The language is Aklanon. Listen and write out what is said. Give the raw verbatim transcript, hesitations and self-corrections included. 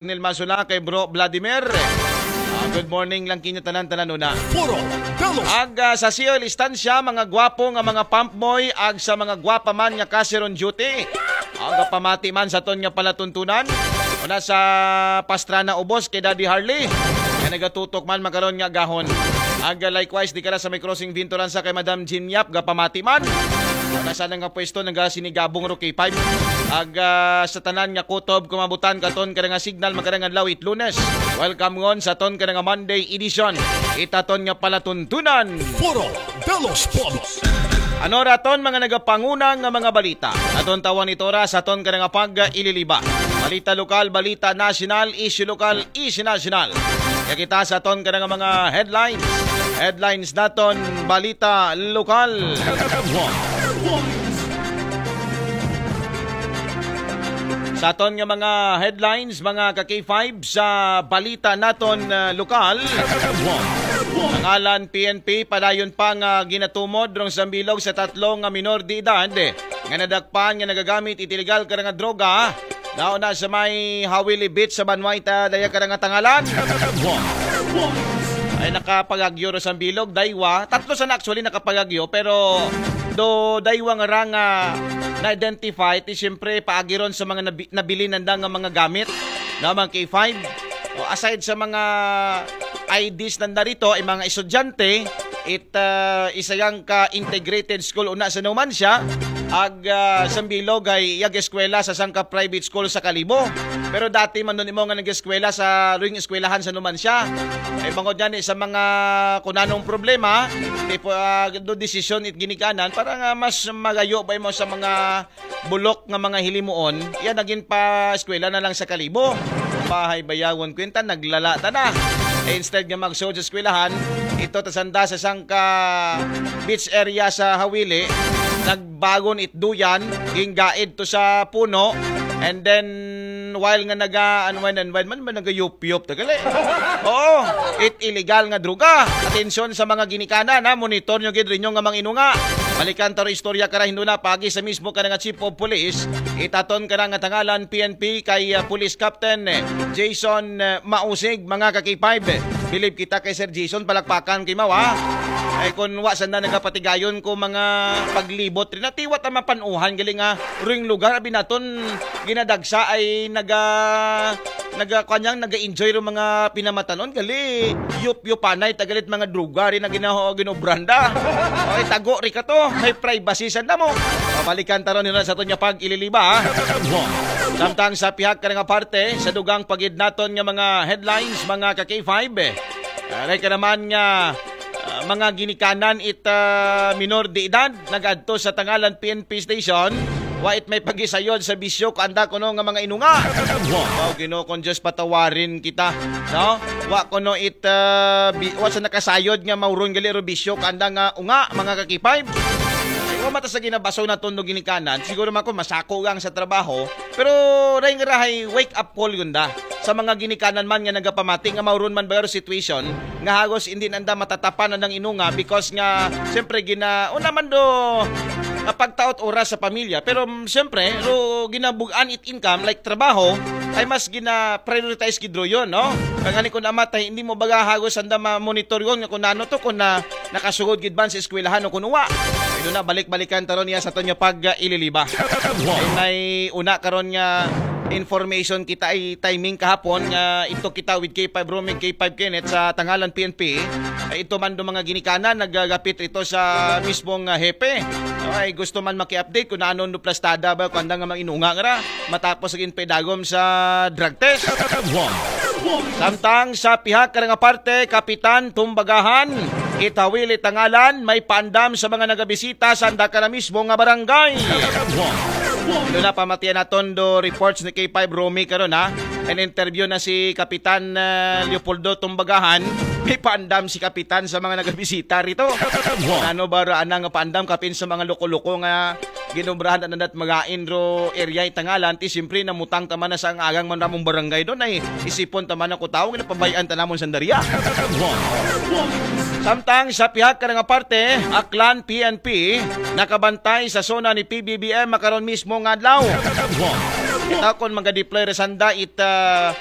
Nil Masula, kay Bro Vladimir. Ah, good morning lang kinyo tanan-tanan una. Puro Belos. Ag ah, sa Siol Istansya, mga gwapo nga mga pump boy, ag sa mga gwapa man nga cashier on duty. Ag pamati man sa ton nga palatuntunan. Una sa Pastrana Ubos kay Daddy Harley. Nga nagatutok man makaron nga gahon. Ag ah, likewise, di ka na sa may crossing Vinturan sa kay Madam Jean Yap, gapamati man. Una sa nga pwesto, nagasinigabong ro K five. Ag ah, sa tanan nga kutob, kumabutan katon ka nga signal, makarang adlaw it Lunes. Welcome ngon sa ton ka nga Monday edition. Itaton nga palatuntunan. Puro Belos Polos. Ano raton mga nagapanguna nga mga balita? Aton tawan ito ra sa ton ka nga pag-ililiba. Balita lokal, balita nasyonal, issue lokal, issue nasyonal. Kaya kita sa ton ka nga mga headlines. Headlines naton, balita lokal. Sa aton nga mga headlines, mga ka K five, sa balita naton ah, lokal. Pangalan P N P, padayon pa nga ginatumod rong sambilog sa tatlo nga minor de edad nga nadakpan nga nagagamit it illegal ka nga droga. Nauna sa may Hawili Beach sa Banway ta daya ka nga tangalan. Ay nakapagagyo ro sambilog, daywa. Tatlo sa na actually nakapagagyo, pero do daywa nga ra nga na-identify, ti siyempre paagiron sa mga nabi, nabilin nanda nga mga gamit, no, mga K five. O, aside sa mga I Ds nanda rito, ay mga estudyante, it ah, isa yang ka integrated school una sa Numancia, ag ah, sambilog ay yag eskwela sa sangka private school sa Kalibo. Pero dati man nun imo nga nag-eskwela sa ruing eskwelahan sa Numancia. Ay bangod gani sa mga kunanong problema, tipo ah, do desisyon it ginikanan para nga mas magayo ba mo sa mga bulok nga mga hilimuon, iya naging pa eskwela na lang sa Kalibo. Bahay bayawon kwenta, naglala ta na. Eh, instead nga magsuod sa eskwelahan, ito tasanda sa sangka beach area sa Hawili, nagbagon it duyan, ginggaid to sa puno, and then while nga naga unwind and wind man, man nagayupyop tagali. Oo, it illegal nga droga. Atensyon sa mga ginikanan, ha, monitor nyo gid rinyo nga mga inunga. Balikan ta ro istorya kara hinduna pagi sa mismo ka nga chief of police. Itaton ka nga tangalan P N P kay ah, Police Captain eh, Jason eh, Mausig, mga ka K five. Bilib kita kay Sir Jason, palakpakan kay mawa. Ay kun wa sanda nagapatigayon ko mga paglibot rin, natiwa ta mapanuhan gali nga ruing lugar abi naton ginadagsa ay naga naga kanyang naga-enjoy ro mga pinamatanon gali, yup-yupanay tagalit mga droga rin na ginaho ginobranda. Ay tago ri ka to, may privacy sanda mo. Pabalikan ta ron nila sa aton nga pag-ililiba, ha? Samtang sa pihak ka nga parte, sa dugang pagid naton nga mga headlines, mga ka K five, eh. Aray ka naman nga ah, mga ginikanan it ah, minor de edad nagadto sa tangalan P N P station. Wa it may pagisayod sa bisyo ko anda kuno nga mga inunga. Wow, Ginoo kong Diyos, patawarin kita, no? Wa kuno it ah, bi- wa sa nakasayod nga mauron gali ro bisyo ko anda nga unga, mga ka K five. Ay, wa mata sa ginabasog na tondo ginikanan, siguro man ko masako gang sa trabaho, pero ray nga rahay wake up call gunda sa mga ginikanan man nga nagapamati nga mauron man ba ro situation nga hagos hindi nanda matatapan ang inunga because nga siyempre gina una man do ah, pagtaot oras sa pamilya, pero mm, siyempre ro ginabugan it income like trabaho ay mas gina prioritize gid ro yun, no? Kagani kung amatay hindi mo baga hagos anda ma-monitor yun nga kung ano to kung na nakasugod gid man sa eskwelahan o kung uwa. Ito na balik-balikan taron niya sa aton nga pag-ililiba. Ay may una karon nga information kita ay timing kahapon nga ito kita with K five Roaming, K five Kenneth sa tangalan P N P. Ay ito man do mga ginikanan nagagapit rito sa mismong ah, hepe. Ay gusto man maki-update kung ano do plastada ba kung anda nga mga inunga nga ra matapos ang pedagom sa drug test. Samtang sa pihak ka nga parte, Kapitan Tumbagahan, itawili tangalan, may paandam sa mga nagabisita sa anda ka na mismo nga barangay. Ito na pamatian naton do reports ni K five Romy karon ha. An interview na si Kapitan ah, Leopoldo Tumbagahan, may paandam si Kapitan sa mga nagabisita rito. Ano ba ra anang paandam kapin sa mga loko-loko nga ginobrahan ta nandat magain ro area itangalan ti siyempre namutang ta man na sa ang agang man ramong barangay doon ay isipon ta man ako tao nga napabayaan ta namon sandaria. Samtang sa pihak ka nga parte, Aklan P N P nakabantay sa zona ni P B B M makaron mismo nga adlaw. Kita kon maga-deploy re sanda it ah,